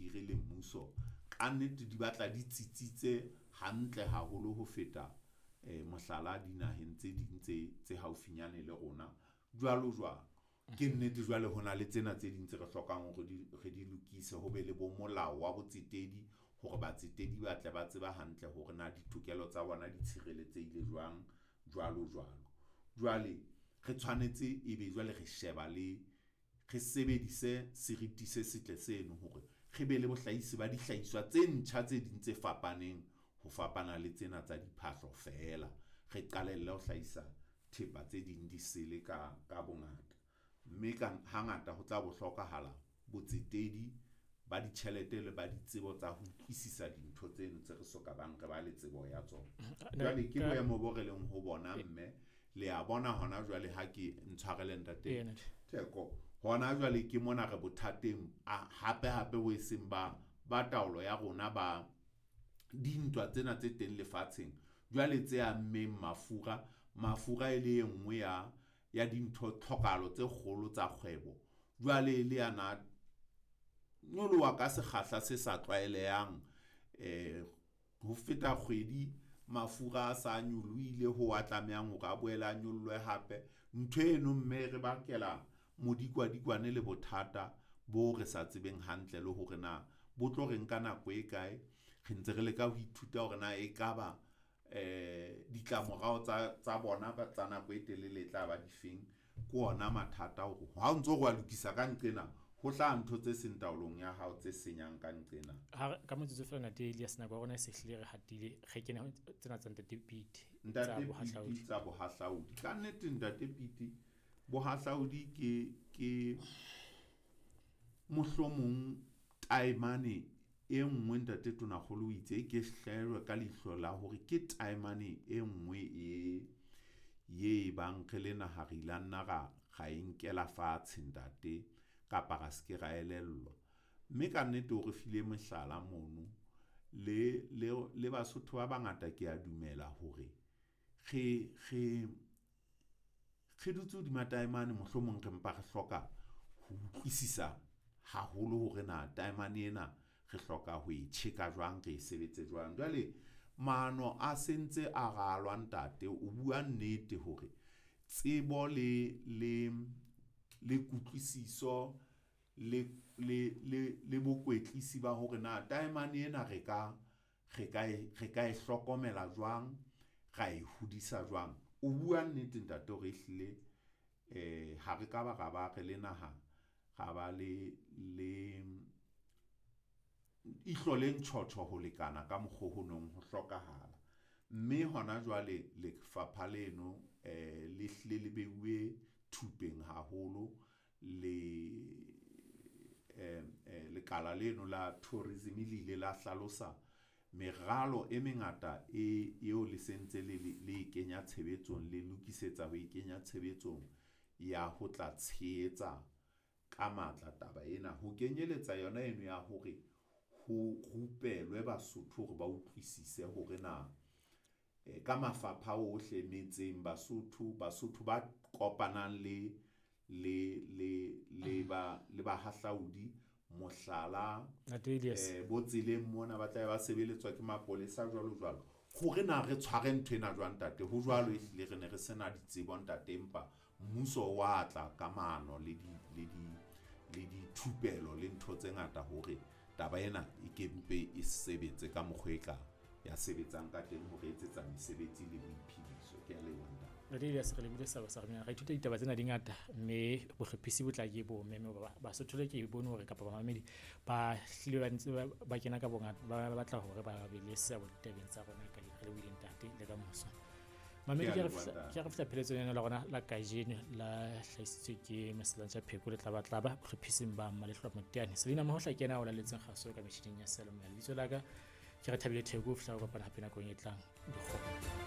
hire le mmuso, kannete di batla di tsitsitse hantle haholo ho feta mohlala dinaheng tse ding tse haufinyane le rona, jwalo jwalo. Ke nnete jwale ho na le tsena tse ding tse re hlokang hore re di lokise, ho be le bo molao wa botsetedi hore batsetedi ba tle ba tseba hantle hore na ditokelo tsa bona di tshireletsehile jwang, jwalo jwalo. Jwale re tshwanetse ebe jwale re sheba le re sebedise seriti se setle seno hore re be le bohlahisi ba dihlahiswa tse ntjha tse ding tse fapaneng ho fapana le tsena tsa diphahlo feela. Re qalelle ho hlahisa thepa tse ding di sele ka bongata. Mme ka hangata ho tla bo hlokahala botsetedi ba ditjhelete le ba ditsebo tsa ho utlwisisa dintho tseno tse re so ka bang re ba le tsebo ya tsona. Jwale ke boemo bo re leng ho bona, mme le a bona hona jwale ha ke ntshwarele ntate Theko. Hona jwale ke mona re bothateng hape hape bo e seng ba taolo ya rona ba dintwa tsena tse teng lefatsheng. Jwale tse ammeng mafura, mafura e le e nngwe ya dintho tlhokahalo tse kgolo tsa kgwebo. Jwale le yana nyoloha ka sekgahla se sa tlwaelehang, ho feta kgwedi mafura a sa nyolohile ho a tlamehang hore a boele a nyollwe hape. Ntho eno mme re bakela modikwadikwane le bothata bo re sa tsebeng hantle le hore na bo tlo re nka nako e kae. Re ntse re leka ho ithuta hore na ekaba ditlamorao tsa bona tsa nako e telele e tla ba difeng. Ke ona mathata hore ha o ntso re wa lokisa ka nqena, ho hlaha ntho tse seng taolong ya hao tse senyang ka nqena. Ha ka motsotso fela ntate Elias, nako ya rona e se hlile re hatile, re kene ho tsena tsa Ntate Pete, tsa Ntate Pete bohahlaudi. tsa bohahlaudi. Ka nnete Ntate Pete, bohahlaudi ke mohlomong taemane e nngwe Ntate Tonakgolo o itse ke hlaelwe ka leihlo la hore ke taemane e nngwe ye e bang re le naha re ile nna ra e nkela fatshe ntate, kapa ra se ke ra elellwa. Mme ka nnete o re file mehlala mono le Basotho ba bangata ke a dumela hore re dutse hodima taemane, mohlomong re mpa re hloka ho utlwisisa haholo hore na taemane ena re hloka ho e tjheka jwang, re e sebetse jwang. Jwale maano a sentse a ralwa ntate, o bua nnete hore tsebo le kutlwisiso le bokwetlisi ba hore na taemane ena re ka e hlokomela jwang, ra e hodisa jwang. O bua nnete ntate hore ehlile ha re ka ba ra ba re le naha, ra ba le ihlo le ntjhotjho ho lekana ka mokgo ho nong ho hlokahala. Mme hona jwale lefapha leno le hlile le beuwe thupeng haholo le lekala leno la tourism le ile la hlalosa meralo e mengata eo le sentse le e kenya tshebetsong, le lokisetsa ho e kenya tshebetsong ya ho tla tshehetsa ka matla taba ena, ho kenyeletsa yona eno ya hore ho rupelwe Basotho hore ba utlwisise hore na ka mafapha ohle metseng Basotho ba kopanang le bahahlaudi, mohlala, Ntate Elias. Bo tseleng mona ba tla ba sebeletswa ke mapolesa jwalo jwalo. Hore na re tshware ntho ena jwang ntate, ho jwalo ehlile re ne re sena ditsebo ntate, empa mmuso wa tla ka maano le dithupelo le ntho tse ngata hore taba ena e ke mpe e sebetse ka mokgwa e ka ya sebetsang ka teng hore etsetsa mesebetsi le boiphediso. Ke a leboha ntate. Ntate Elias, re lebile sa sa rona. Re ithuta ditaba tsena di ngata, mme bohlophisi bo tla ke bo meme ba Basotho le ke bone hore kapa bamamedi ba hlile ba ntse ba kena ka bongata, ba batla hore ba be le seabo ditabeng tsa rona ka re lebohile ntate le ka moso. Mamedi, Ke a leboha, ntate. ke re fihla pheletsong ena la rona la kajeno la hlahisitswe ke Meselantja Pheko le Tlabatlaba, bohlophising ba Mmalehloa Moteane. Selina Mohohla ke yena a o laletseng kgaso ka metjhining ya seyalemoya. Lebitso la ka ke Rethabile Theko, ho fihla re kopana hape nakong e tlang. Dikgomo.